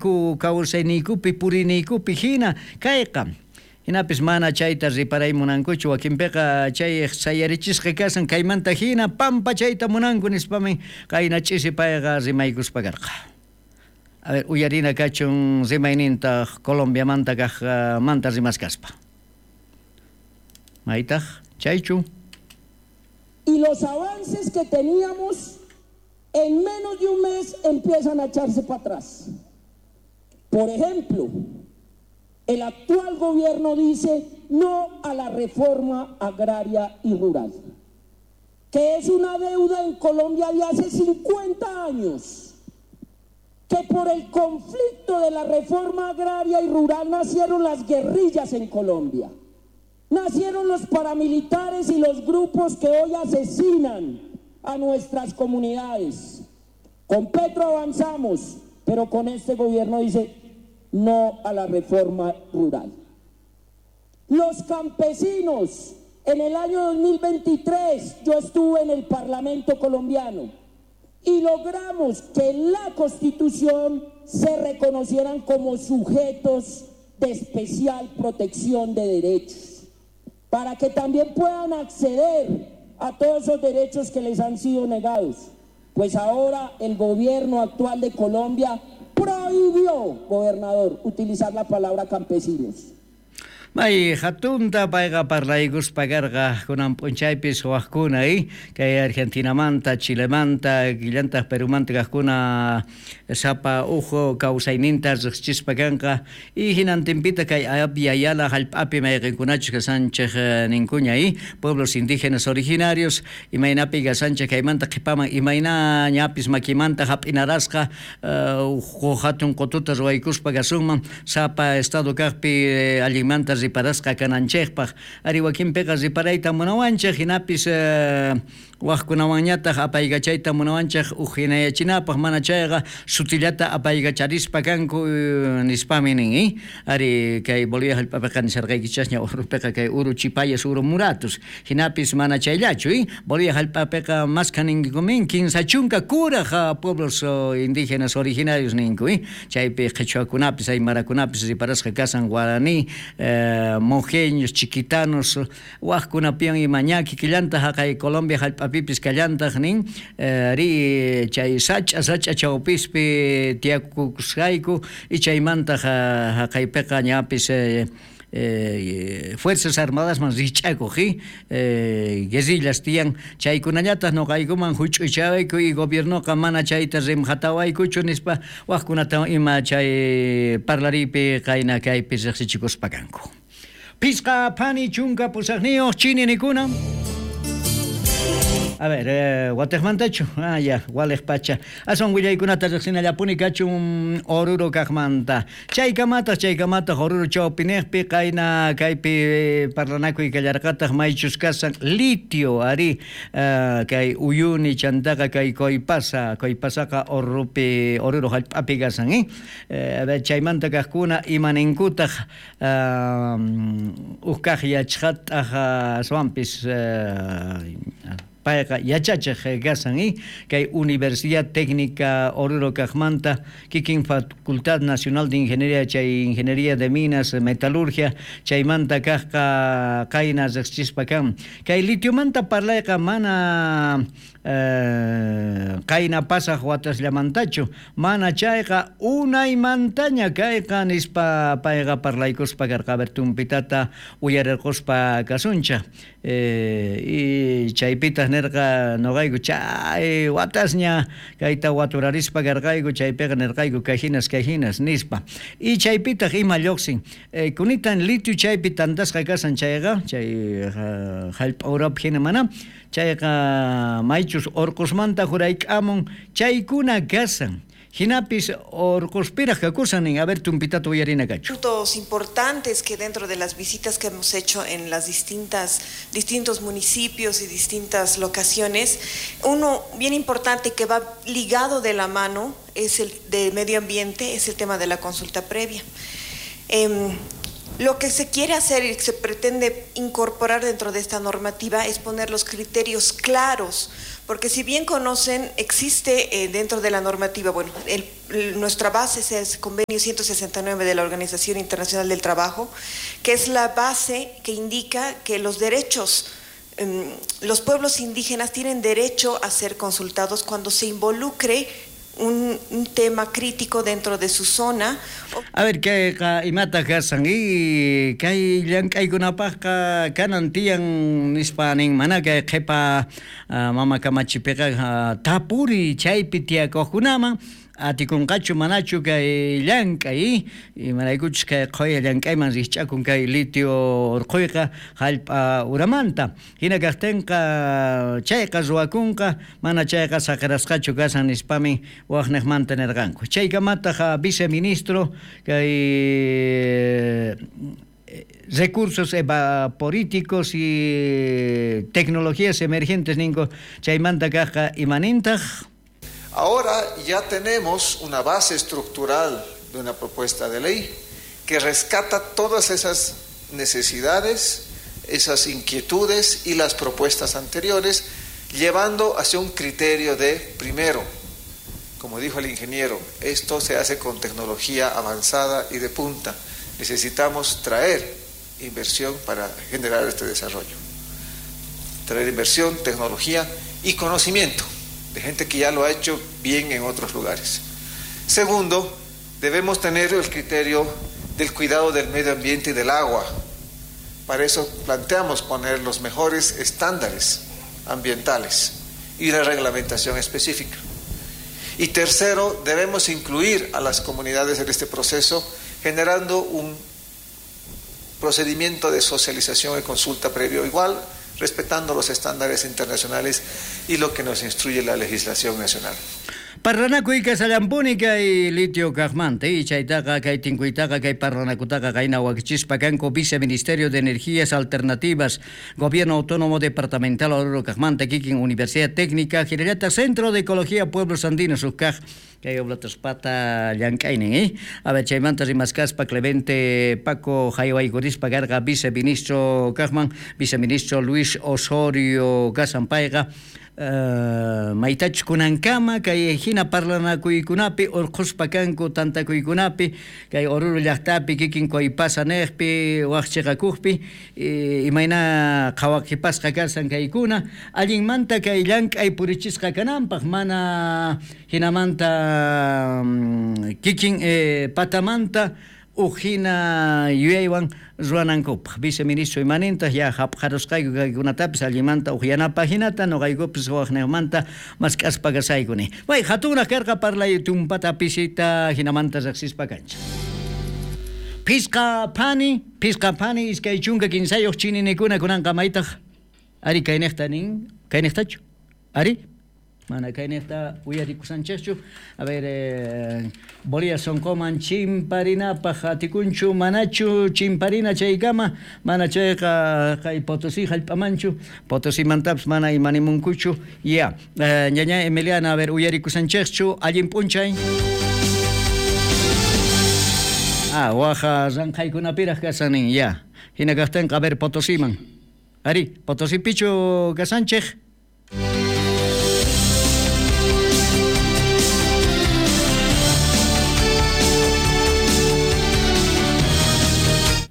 Kawsayku kawsayniykupi puriyniykupi hina kayqa. Hinapis mana chayta riparay munankuchu, wakinpiqa chay sayarichisqa kasan kaymanta hina pampachayta munanku nispamin qayna ch'isi payqa rimaykuspa karqa. A ver, uyarina kachun rimayninta Colombiamanta kaqmanta rimaskaspa. Maytaq chaychu? Y los avances que teníamos en menos de un mes empiezan a echarse para atrás. Por ejemplo, el actual gobierno dice no a la reforma agraria y rural, que es una deuda en Colombia de hace 50 años, que por el conflicto de la reforma agraria y rural nacieron las guerrillas en Colombia, nacieron los paramilitares y los grupos que hoy asesinan a nuestras comunidades. Con Petro avanzamos, pero con este gobierno dice no a la reforma rural. Los campesinos, en el año 2023 yo estuve en el Parlamento colombiano y logramos que en la Constitución se reconocieran como sujetos de especial protección de derechos, para que también puedan acceder a todos esos derechos que les han sido negados. Pues ahora el gobierno actual de Colombia prohibió, gobernador, utilizar la palabra campesinos. May hatunta payqa parlaykuspa karqa kunan p'unchaypis wajkuna kay Argentinamanta, Chilemanta, killantaq Perumanta kaqkuna sapa uj kawsayninta riqsichispa kanqa y hinantinpita kay Abya Yala hallp'api mayqinkunachus kasanchik ninkuña pueblos indígenas originarios imaynapi kasanchik kaymanta qhipaman imayna ñapis makimanta hap'inarasqa uj hatun qututa ruwaykuspa kasunman sapa estado kaqpi allinmanta riparasqa kananchikpaq ari wakinpiqa riparayta munawanchik hinapis waqkunawanñataq apaykachayta munawanchik uj hinayachinapaq mana chayqa sutillata apaykacharispa kanku nispami nin ari kay Bolivia hallp'apiqa nisharqaykichasña Oruropiqa kay uru chipayas uru muratus hinapis mana chayllachu Bolivia hallp'apiqa maskha ninkumin 30 kuraq pueblos indígenas originarios ninku chaypi qhichwakunapis aymarakunapis riparasqa kasan guaraní mojeños, chiquitanos, waqkunapiwan ima ña kikillantaq haqay Colombia hallp'apipis kallantaq nin ri chay sach'a sach'a chawpispi tiyakusqayku y chaymantaq haqaypiqa ñapis Fuerzas Armadas man rich'akuq guerrillas tiyan chaykunallataq nuqaykuman huch'uychawayku y gobiernoqa mana chayta rimhatawaykuchu nispa waqkunata ima chay parlariypi qayna kaypi riqsichikuspa kanku. Pisqa phani 18 chini nikuna. A ver, watiqmantachu? Ah, ya, waliq pacha. Aswan willaykunata riqsinallapuni kachun Oruro kaqmanta. Chaykamataq Oruro chawpiniqpi qayna kaypi parlanakuy kallarqataq maychus kasan litio ari kay Uyuni chantaqa kay Coipasa, Coipasaqa Oruropi Oruro hallp'api kasan, A ver, chaymanta kaqkuna imaninkutaq uj kaq yachqataq aswanpis payqa yachachiq kasan kay Universidad Técnica Oruro kaqmanta kikin Facultad Nacional de Ingeniería chay Ingeniería de Minas Metalurgia chaymanta kaqqa qayna riqsichispa kan kay litiomanta parlayqa mana qayna pasaq watasllamantachu mana chayqa unaymantaña kayqa nispa payqa parlaykuspa karqa. A ver, tumpitata uyarirquspa kasunchaq y chaypitaq nirqa nuqayku chay watasña kayta waturarispa karqayku chaypiqa nirqayku kay hinas nispa y chaypitaq ima lluqsin kunitan litio chaypi tantasqa kasan chayqa chay hallp'a urapi hina mana chayqa maychus urqusmanta jurayk'amun chaykuna kasan hinapis orqospiraq kakusan nin. A ver, tumpitata uyarina kachu. Puntos importantes que dentro de las visitas que hemos hecho en las distintos municipios y distintas locaciones, uno bien importante que va ligado de la mano es el de medio ambiente, es el tema de la consulta previa. Lo que se quiere hacer y se pretende incorporar dentro de esta normativa es poner los criterios claros, porque si bien conocen, existe dentro de la normativa, bueno, nuestra base es el convenio 169 de la Organización Internacional del Trabajo, que es la base que indica que los derechos, los pueblos indígenas tienen derecho a ser consultados cuando se involucre un tema crítico dentro de su zona. A ver, kayqa imata kasan y kay llank'aykunapaqqa kanan tiyan nispa nin mana kay qhipa mama kamachipiqa tapuri chaypi tiyakuqkunaman atikunqachu manachu kay llank'ay imaraykuchus kay qhuya llank'ayman rikch'akun kay litio urquyqa hallp'a uramanta hina kaqtinqa chayqa ruwakunqa mana chayqa saqirasqachu kasan nispami waqniqmanta nirqanku chaykamataq viceministro kay recursos evaporíticos y tecnologías emergentes ninko chaymanta kaqqa imanintaq. Ahora ya tenemos una base estructural de una propuesta de ley que rescata todas esas necesidades, esas inquietudes y las propuestas anteriores, llevando hacia un criterio de, primero, como dijo el ingeniero, esto se hace con tecnología avanzada y de punta. Necesitamos traer inversión para generar este desarrollo. Traer inversión, tecnología y conocimiento de gente que ya lo ha hecho bien en otros lugares. Segundo, debemos tener el criterio del cuidado del medio ambiente y del agua. Para eso planteamos poner los mejores estándares ambientales y la reglamentación específica. Y tercero, debemos incluir a las comunidades en este proceso, generando un procedimiento de socialización y consulta previo igual, respetando los estándares internacionales y lo que nos instruye la legislación nacional. Parlanakuy kasallampuni kay litio kaqmanta y chaytaqa kay tinkuytaqa kay parlanakutaqa qayna wakichispa kanku Viceministerio de Energías Alternativas, Gobierno Autónomo Departamental Oruro kaqmanta kikin Universidad Técnica, hinallataq Centro de Ecología Pueblos Andinos ukkaq kay oblataspata llank'aynin, A ver, chaymanta rimaskaspa Clemente Paco haywaykurispa karqa viceministro kaqman, viceministro Luis Osorio kasanpayqa maytachus kunankama kay hina parlanakuykunapi urqhuspa kanku tantakuykunapi kay Oruro llaqtapi kikin Coipasa niqpi waq chiqakuqpi imayna qhawaqipasqa kasan kaykuna allinmanta kay llank'ay purichisqa kananpaq mana hinamanta kikin patamanta uj hina yuyaywan ruwanankupaq viceministro imanintaq ya hapqarusqayku kaykunatapis allimanta uqyanapaq hinata nuqaykupis waqniqmanta mask'aspa kasaykuni. Way hatunraq karqa parlay tumpata pisita hinamanta riqsispa kanchik. Pisqa phani 23 chininikuna kunanqa maytaq ari kayniqta nin kayniqtachu ari mana kayniqta uyarikusanchikchu. A ver, Bolivia sonqoman chimparinapaq atikunchu manachu chimparina chaykama mana chayqa kay Potosí hallp'amanchu Potosímantapis mana imanimunkuchu ya ñaña Emiliana, a ver, uyarikusanchikchu allin p'unchay. Ah, waja ranqhaykunapiraq kasanin ya hina kaqtinqa a ver Potosíman ari Potosípichu kasanchik.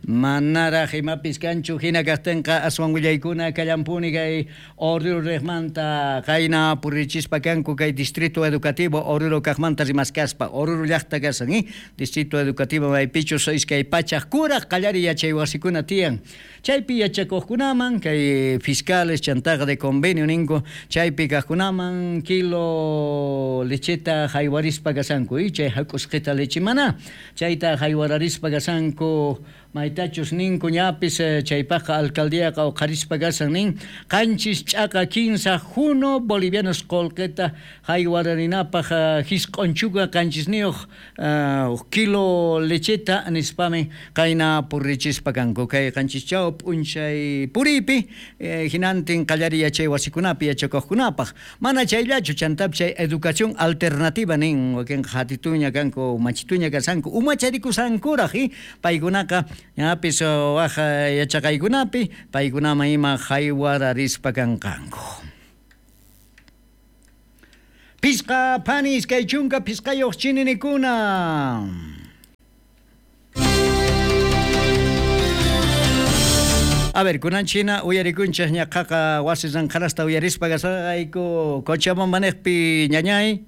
Manaraq imapis kanchu hina kaqtinqa aswan willaykuna kallampuni kay Oruro riqmanta qayna purichispa kanku kay Distrito Educativo Oruro kaqmanta rimaskaspa Oruro llaqta kasan Distrito Educativo maypichus 200 kuraq qallari yachay wasikuna tiyan chaypi yachakuqkunaman kay fiscales chantaqa de convenio ninku chaypi kaqkunaman kilo lecheta haywarispa kasanku chay hak'usqita leche mana chayta haywararispa kasanku maytachus ninku ñapis chaypaqqa alcaldíaqa uqharispa kasan nin 7 ch'aqa 15 juno bolivianos qullqita haywararinapaq 9 7 kilo lecheta nispami qayna purichispa kanku kay 7 p'unchay puripi hinantin qallari yachay wasikunapi yachakuqkunapaq mana chayllachu chantapis chay educación alternativa nin wakinqa hatituña kanku machituña kasanku umacharikusankuraq paykunaqa Ñapis waj yachaqaykunapi paykunaman ima jaywararispa kanqanku. Pisqa phani 25 chininikuna. A ver, kunan china uyarikunchej ñaqaqa wasi ranqharasta uyarispa kasarqayku Cochabamba neqpi, ñañay.